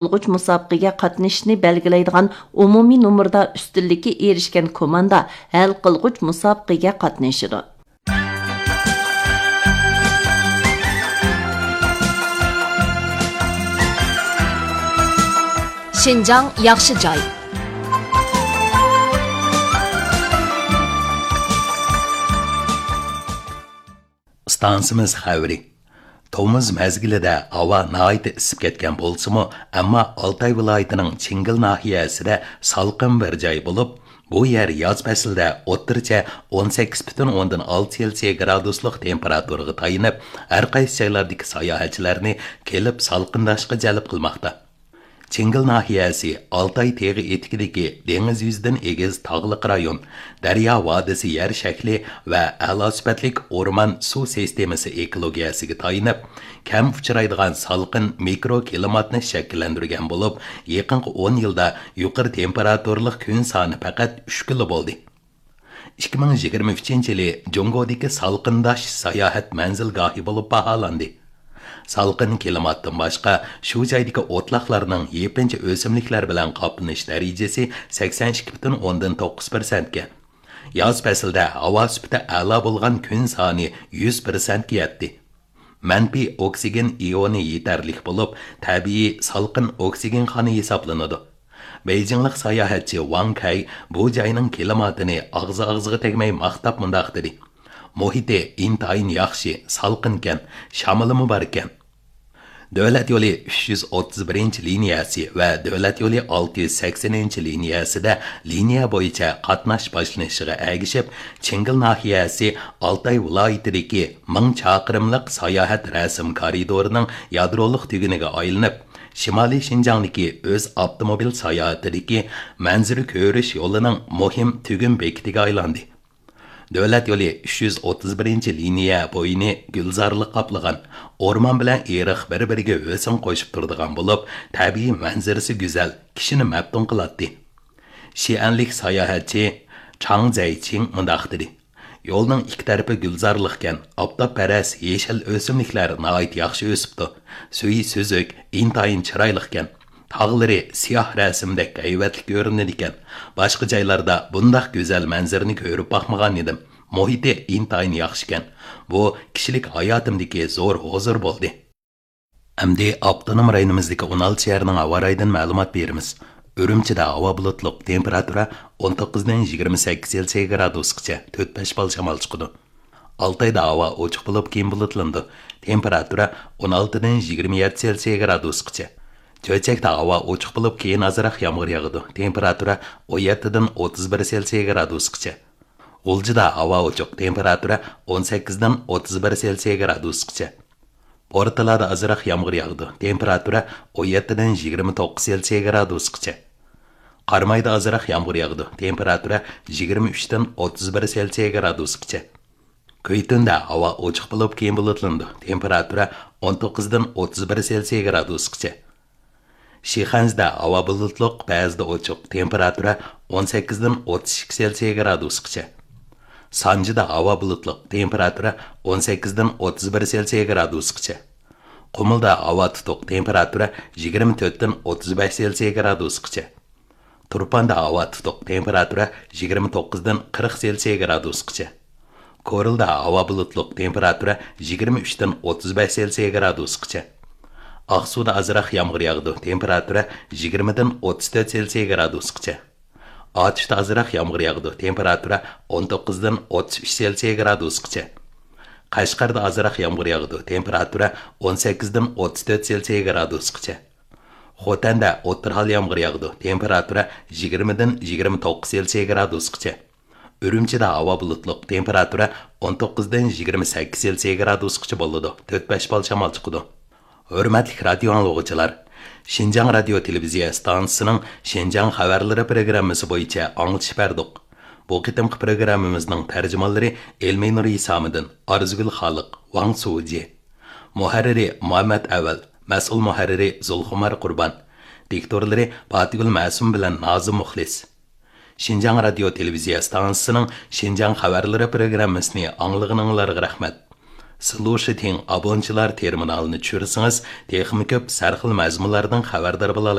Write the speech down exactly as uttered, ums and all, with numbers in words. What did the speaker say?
قىلغۇچ مۇسابىقىگە قاتنىشىشنى بەلگىلەيدىغان ئومۇمىي نومۇردا ئۈستۈنلۈككە ئېرىشكەن كوماندا ھەل قىلغۇچ مۇسابىقىگە قاتنىشىدۇ. شىنجاڭ ياخشى جاي. ئىستانسىمىز خەۋىرى. تومۇز مەزگىلىدە ھاۋا ناھايىتى ئىسسىپ كەتكەن بولسىمۇ، ئەمما ئالتاي ۋىلايىتىنىڭ چىڭگىل ناھىيەسىدە سالقىن بىر جاي بولۇپ، بۇ يەر ياز پەسلىدە ئوتتۇرىچە ئون سەككىز پۈتۈن ئوندىن ئالتە سېلسىيە گرادۇسلۇق تېمپېراتۇرىغا تايىنىپ، ھەر قايسى جايلاردىكى ساياھەتچىلەرنى كېلىپ سالقىنداشقا جەلپ قىلماقتا. چىڭگىل ناھىيەسى ئالتاي تېغى ئېتىكىدىكى دېڭىز يۈزىدىن ئېگىز تاغلىق رايون، دەريا ۋادىسى يەر شەكلى ۋە ئەلا سۈپەتلىك ئورمان سۇ سىستېمىسى ئېكولوگىيەسىگە تايىنىپ، كەم ئۇچرايدىغان سالقىن مىكرو كىلىماتنى شەكىللەندۈرگەن بولۇپ، يېقىنقى ئون يىلدا يۇقىرى تېمپېراتۇرىلىق كۈن سانى پەقەت ئۈچ كۈنلا بولدى. ئىككى مىڭ يىگىرمە ئۈچىنچى يىلى جۇڭگودىكى سالقىنداش ساياھەت مەنزىلگاھى بولۇپ باھالاندى. سالقىن كىلىماتتىن باشقا، شۇ جايدىكى ئوتلاقلارنىڭ يېپىنچا ئۆسۈملۈكلەر بىلەن قاپلىنىش دەرىجىسى سەكسەن ئىككى پۈتۈن ئوندىن توققۇز پىرسەنتكە، ياز پەسلىدە ھاۋا سۈپىتى ئەلا بولغان كۈن سانى يۈز پىرسەنتكە يەتتى. مەنپىي ئوكسىگېن ئىيونى يېتەرلىك بولۇپ، تەبىئىي سالقىن ئوكسىگېن خانا ھېسابلىنىدۇ. بېيجىڭلىق ساياھەتچى ۋاڭ كەي بۇ جاينىڭ كىلىماتىنى ئاغزى ئاغزىغا تەگمەي ماختاپ مۇنداق دېدى: «مۇھىتى ئىنتايىن ياخشى، سالقىنكەن، شامىلىمۇ باركەن.» دۆلەت يولى ئۈچ يۈز ئوتتۇز بىرىنچى لىنىيەسى ۋە دۆلەت يولى ئالتە يۈز سەكسىنىنچى لىنىيەسىدە لىنىيە بويىچە قاتناش باشلىنىشىغا ئەگىشىپ، چىڭگىل ناھىيەسى ئالتاي ۋىلايىتىدىكى مىڭ چاقىرىملىق ساياھەت رەسىم كارىدورىنىڭ يادرولۇق تۈگۈنىگە ئايلىنىپ، شىمالىي شىنجاڭدىكى ئۆز ئاپتوموبىل ساياھىتىدىكى مەنزىرە كۆرۈش يولىنىڭ مۇھىم تۈگۈن بېكىتىگە ئايلاندى. دۆلەت يولى ئۈچ يۈز ئوتتۇز بىرىنچى لىنىيە بويىنى گۈلزارلىق قاپلىغان، ئورمان بىلەن ئېرىق بىر-بىرىگە ھۆسن قوشۇپ تۇرىدىغان بولۇپ، تەبىئىي مەنزىرىسى گۈزەل، كىشىنى مەپتۇن قىلاتتى. شىئەنلىك ساياھەتچى چاڭ زەيچىڭ مۇنداق دېدى: «يولنىڭ ئىككى تەرىپى گۈلزارلىقكەن، ئاپتاپپەرەس يېشىل ئۆسۈملۈكلەر ناھايىتى ياخشى ئۆسۈپتۇ. سۈيى سۈزۈك، ئىنتايىن چىرايلىقكەن. تاغلىرى سىياھ رەسىمدەك ھەيۋەتلىك كۆرۈنىدىكەن. باشقا جايلاردا بۇنداق گۈزەل مەنزىرىنى كۆرۈپ باقمىغان ئىدىم. مۇھىتى ئىنتايىن ياخشىكەن. بۇ كىشىلىك ھاياتىمدىكى زور ھۇزۇر بولدى.» ئەمدى ئاپتونوم رايونىمىزدىكى ئون ئالتە شەھەرنىڭ ھاۋا رايىدىن مەلۇمات بېرىمىز. ئۈرۈمچىدە ھاۋا بۇلۇتلۇق، تېمپېراتۇرا ئون توققۇزدىن يىگىرمە سەككىز سېلسىيە گرادۇسقىچە، تۆت بەش بال شامال چىقىدۇ. ئالتايدا ھاۋا ئوچۇق بولۇپ، كېيىن بۇلۇتلىنىدۇ. تېمپېراتۇرا ئون ئالتىدىن يىگىرمە يەتتە سېلسىيە گرادۇسقىچە. چۆچەكتە ھاۋا ئوچۇق بولۇپ، كېيىن ئازراق يامغۇر ياغىدۇ. تېمپېراتۇرا ئون يەتتىدىن ئوتتۇز بىر سېلسىيە گرادۇسقىچە. غۇلجىدا ھاۋا ئوچۇق، تېمپېراتۇرا ئون سەككىزدىن ئوتتۇز بىر سېلسىيە گرادۇسقىچە. بورتالادا ئازراق يامغۇر ياغىدۇ، تېمپېراتۇرا ئون يەتتىدىن يىگىرمە توققۇز سېلسىيە گرادۇسقىچە. قارامايدا ئازراق يامغۇر ياغىدۇ، تېمپېراتۇرا يىگىرمە ئۈچتىن ئوتتۇز بىر سېلسىيە گرادۇسقىچە. كۈيتۈندە ھاۋا ئوچۇق بولۇپ، كېيىن بۇلۇتلىنىدۇ، تېمپېراتۇرا ئون توققۇزدىن ئوتتۇز بىر سېلسىيە گرادۇسقىچە. شىخەنزىدە ھاۋا بۇلۇتلۇق، بەزىدە ئوچۇق، تېمپېراتۇرا ئون سەككىزدىن ئوتتۇز ئىككى سېلسىيە گرادۇسقىچە. سانجىدا ھاۋا بۇلۇتلۇق، تېمپېراتۇرا ئون سەككىزدىن ئوتتۇز بىر سېلسىيە گرادۇسقىچە. قۇمۇلدا ھاۋا تۇتۇق، تېمپېراتۇرا يىگىرمە تۆتتىن ئوتتۇز بەش سېلسىيە گرادۇسقىچە. تۇرپاندا ھاۋا تۇتۇق، تېمپېراتۇرا يىگىرمە توققۇزدىن قىرىق سېلسىيە گرادۇسقىچە. كورلىدا ھاۋا بۇلۇتلۇق، تېمپېراتۇرا يىگىرمە ئۈچتىن ئوتتۇز بەش سېلسىيە گرادۇسقىچە. ئاقسۇدا ئازراق يامغۇر ياغىدۇ، تېمپېراتۇرا يىگىرمىدىن ئوتتۇز تۆت سېلسىيە گرادۇسقىچە. ئاتۇشتا ئازراق يامغۇر ياغىدۇ، تېمپېراتۇرا ئون توققۇزدىن ئوتتۇز ئۈچ سېلسىيە گرادۇسقىچە. قەشقەردە ئازراق يامغۇر ياغىدۇ، تېمپېراتۇرا ئون سەككىزدىن ئوتتۇز تۆت سېلسىيە گرادۇسقىچە. خوتەندە ئوتتۇرا ھال يامغۇر ياغىدۇ، تېمپېراتۇرا يىگىرمىدىن يىگىرمە توققۇز سېلسىيە گرادۇسقىچە. ئۈرۈمچىدە ھاۋا بۇلۇتلۇق، تېمپېراتۇرا ئون توققۇزدىن يىگىرمە سەككىز سېلسىيە گرادۇسقىچە بولىدۇ، تۆت بەش بال شامال چىقىدۇ. ھۆرمەتلىك رادىيو ئاڭلىغۇچىلار! شىنجاڭ رادىيو تېلېۋىزىيە ئىستانسىسىنىڭ شىنجاڭ خەۋەرلىرى پروگراممىسى بويىچە ئاڭلىتىش بەردۇق. بۇ قېتىمقى پروگراممىمىزنىڭ تەرجىمانلىرى ئېلمىنۇر ھېسامىدىن، ئارزۇگۈل خالىق، ۋاڭ سۇجى. مۇھەررىرى مۇھەممەت ئەۋەل، مەسئۇل مۇھەررىرى زۇلخۇمار قۇربان. دىكتورلىرى پاتىگۈل مەسۇم بىلەن نازىم مۇخلىس. شىنجاڭ رادىيو تېلېۋىزىيە ئىستانسىسىنىڭ شىنجاڭ خەۋەرلىرى پروگراممىسىنى ئاڭلىغىنىڭلارغا رەھمەت. سلۇشىتىڭ ئابونچىلار تېرمىنالىنى چۈشۈرسىڭىز، تېخىمۇ كۆپ سەرخىل مەزمۇنلاردىن خەۋەردار بولالايسىز.